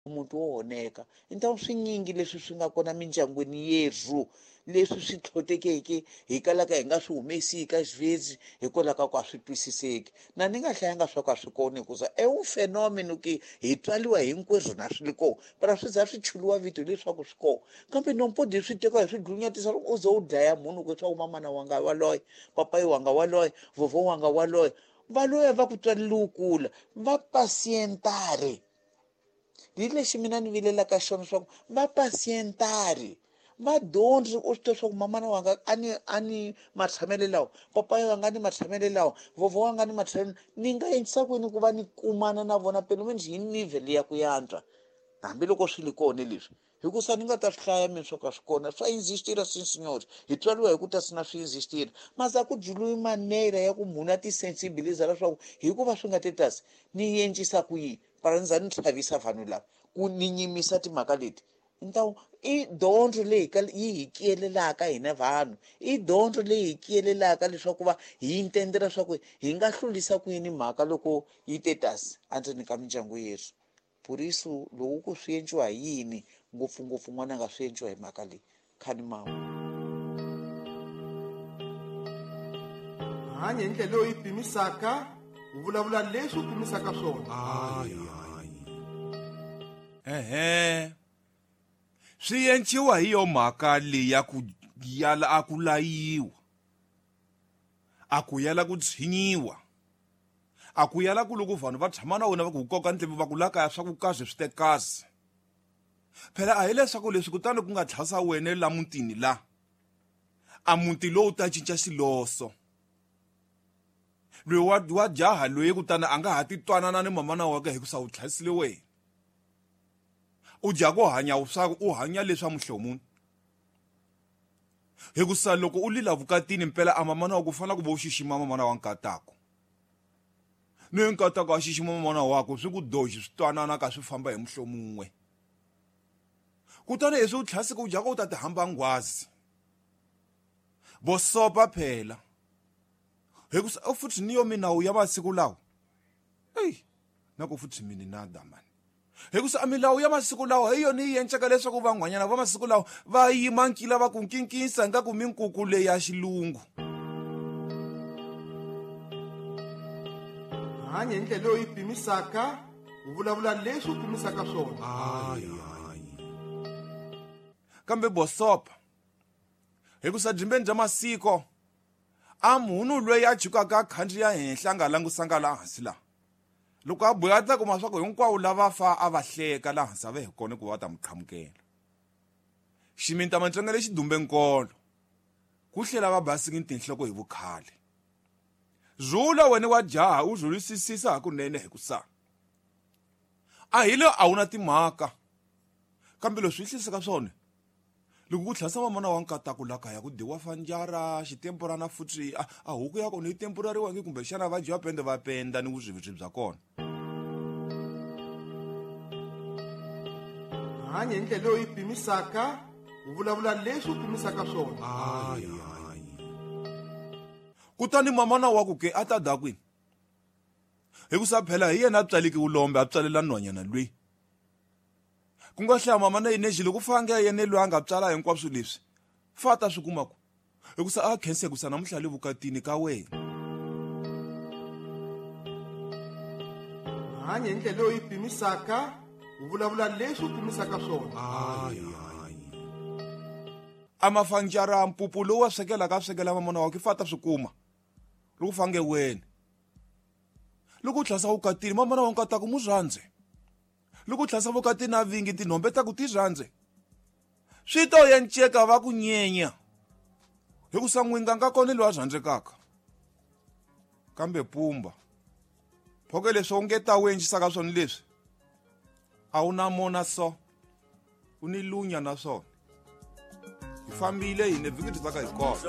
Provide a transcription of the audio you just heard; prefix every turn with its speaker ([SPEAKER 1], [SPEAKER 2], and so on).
[SPEAKER 1] Muti wo oneka i swinyingi leswi swi nga kona mindyangwini yerhu leswi swi tlhotekeke hi kalaka hi nga swi humesi ka xivezi hikwalaho ka ku a swi twisiseki. Na ni nga hlayanga swa ku a swi kona hikuza e un fenomeno ke hi tswaliwa hinkwerhu na swi li kona, para swi za swi chuliwa vito leswaku swi kona, kambe nompodi swi tekiwa hi swi dlunyatisa loko u ze u dlaya munhu ku leswaku mamana wanga waloye, papayi wanga waloye, vovho wanga waloye, va loya va ku tswalele u kula va pasientare. Hi lexi mina ni vilelaka xona leswaku va pasientari va dyondzi u swi tiva leswaku mamana wanga a ni matshamelo lawa, papayi wanga a ni matshamelo lawa, vovho wanga ni matshamelo, ni nga endlisa ku yini ku va ni kumana na vona pelo menos hi level ya ku yantswa, hambiloko swi li kona leswi, hikusa ni nga ta swi hlaya mina swo ka swi kona swa existira. Sim senhor, hi tswariwa hi ku ta sina swi existira, masa ku dzuliwi manera ya ku munhu a ti sensibiliza leswaku hikuva swi nga tetasi ni encisa ku yini, para ni za ni chavisa vanhu lava ku ni nyimisa timhaka leti. Ntawu i dyondzo leyi yi hi kiyelelaka hina vanhu, i dyondzo leyi hi kiyelelaka leswaku va hi intendela leswaku hi nga hlulisa ku yini mhaka loko yi te tasi endzeni ka mindyangu yerhu. Por isso loko ku swi endliwa hi yini ngopfungopfu n'wana nga swi endliwa hi mhaka leyi khani mawu.
[SPEAKER 2] Hanya hi ndlela leyi u yi pimisaka, u vulavula leswi u pimisaka swona.
[SPEAKER 3] Ehe, swi enciwa hi yo mhaka leyi ya ku yala a ku layiwa, a ku yala ku tshinyiwa, a ku yala ku loko vanhu va tshama na wena va ku koka ndleve va ku la kaya swa ku kahle swi te kahle. Phela a hileswaku leswi kutani ku nga tlhasa wena la mutini la a muti lowu ta cinca xiloso loyi wa jaha loyi, kutani a nga ha ti twanana ni mamana wakwe hikusa u tlhasile wena. U dya ku hanya swa u hanya leswa muhlomuni, hikusa loko u lila vukatini mpela a mamana wa ku fanele ku va u xixima mamana wa nkatako, ni nkatako a xixima mamana wakwe, swi ku doxi swi twanana ka swi famba hi muhlomun'we. Kutani leswi u tlhasike u dyaka u ta ti hamba nghwazi vosopa phela, hikusa u futhi ni yo minawu ya masiku lawa eyi na ku futhi mini nada mani, hikusa a milawu ya masiku lawa hi yona yi encaka leswaku van'wanyana va masiku lawa va yima nkila va ku nkinkisa ingaku minkuku leyi ya xilungu.
[SPEAKER 2] Hanya hi ndlela leyi u yi pimisaka, u vulavula leswi u pimisaka swona.
[SPEAKER 3] Kambe bosopa, hikusa dyimbeni bya masiko a munhu loyi a chukaka a khandziya henhla a nga langusanga laha hansi laha loko a boya ta kuma swa ku hinkwawo lava fa a va hleka laha hansi a va hi kona ku va ta n'wi qhamukela ximinta matsonga lexi dumbe nkolo ku hlela va basiki tinhloko hi vukhale. Zula wena wa jaha u zulisisisa hakunene, hikusa a hi le a wu na timhaka, kambe leswi hlisaka swona loko ku tlhasa mamana wa nkataku la kaya ku dyiwa fanjara xitemporana futhi a huku ya kona yi temporariwangi kumbexana va dyiwa pende va penda ni vuswivuswi bya kona.
[SPEAKER 2] Hanya hi ndlela leyi u yi pimisaka, u vulavula leswi u pimisaka swona.
[SPEAKER 3] Kutani mamana wa ku ke a ta da kwini, hikusa phela hi yena a tswaliki vulombe a tswalela nhwanyana loyi ku nga hlaya mama na yini loko fange yena loyi a nga tswala hinkwaswo leswi fa ta swi kuma ku hikusa a khensa, hikusa namuntlha le vukatini ka wena.
[SPEAKER 2] Hanya hi ndlela leyi u yi pimisaka, u vulavula leswi u pimisaka swona.
[SPEAKER 3] A mafanjara mpupu lowu wa swekelaka a swekela mamana wakwe fa ta swi kuma loko fange wena loko u tlhasa vukatini mamana wa nkataku mu rhandze, loko u tlhasa vukatini a vingi tinhombe ta ku ti rhandze swi to yenceka va ku nyenya, hikusa n'winga nga kona loyi a rhandzekaka. Kambe pumba phoke leswi u nge ta u endlisaka swona leswi a wu na mona so u ni lunya na swona. Hi fambile hine vhiki byi tsaka hi kona.